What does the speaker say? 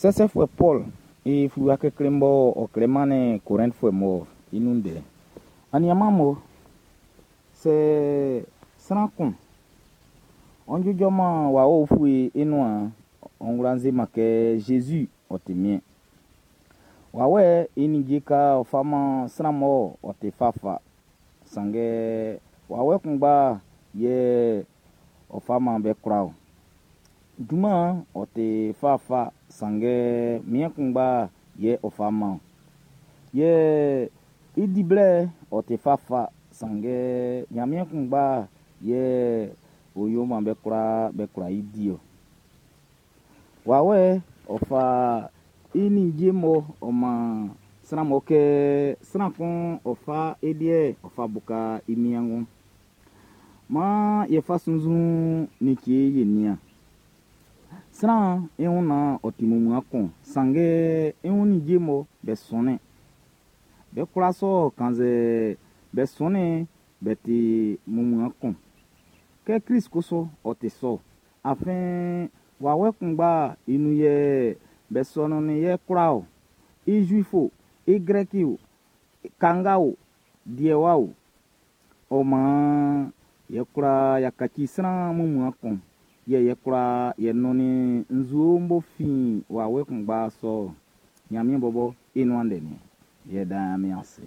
Sɛsɛfuɛ Pɔl i fluwa klikli'n bɔ ɔ klɛ mannin Korɛntfuɛ mun'n i nun ndɛ. Aniaan'm sɛ sran kun ɔ ijɔman wawɛ ufue i nuan'n, ɔ kwla se-man kɛ Jésus ɔ ti Miɛn. Wawɛ i ninnge ka ɔ fa man sran mɔ ɔ ti fafa, sanngɛ wawɛ kunngba yɛ ɔ fa man be kwlaa ɔ. Junman'n ɔ ti fafa, sanngɛ Miɛn kunngba yɛ ɔ fa man ɔ. Yɛ i di blɛ'n ɔ ti fafa, sanngɛ Ɲanmiɛn kunngba yɛ ɔ yo man be kwlaa be kwla i di ɔ. Wawɛ ɔ fa i ninnge mɔ ɔ man sran mɔ kɛ sran kun ɔ fa i liɛ ɔ fa buka i niangun. Maan ye fa sunnzun like ye nian. Sran i wun naan ɔ ti mumua kun, sanngɛ i wun ninnge mɔ be sɔnnin. Be kwla sɔ kannzɛ be sɔnnin'n be ti mumua kun. Kɛ Klist kusu ɔ ti sɔ, afin wawɛ kunngba i nun yɛ be sɔnnin yɛ kwlaa ɔ. I Zuifo, i Grɛki o, kanga o, diewa o. Ɔ maan yɛ kwlaa y'a kaci sran mumua kun. Yɛ yɛ kwlaa yɛ nɔnnin nzue'n b'ɔ fin wawɛ kunngba sɔ'n Ɲanmiɛn bɔbɔ i nuan ndɛ nin. Yɛ dan Ɲanmiɛn ase.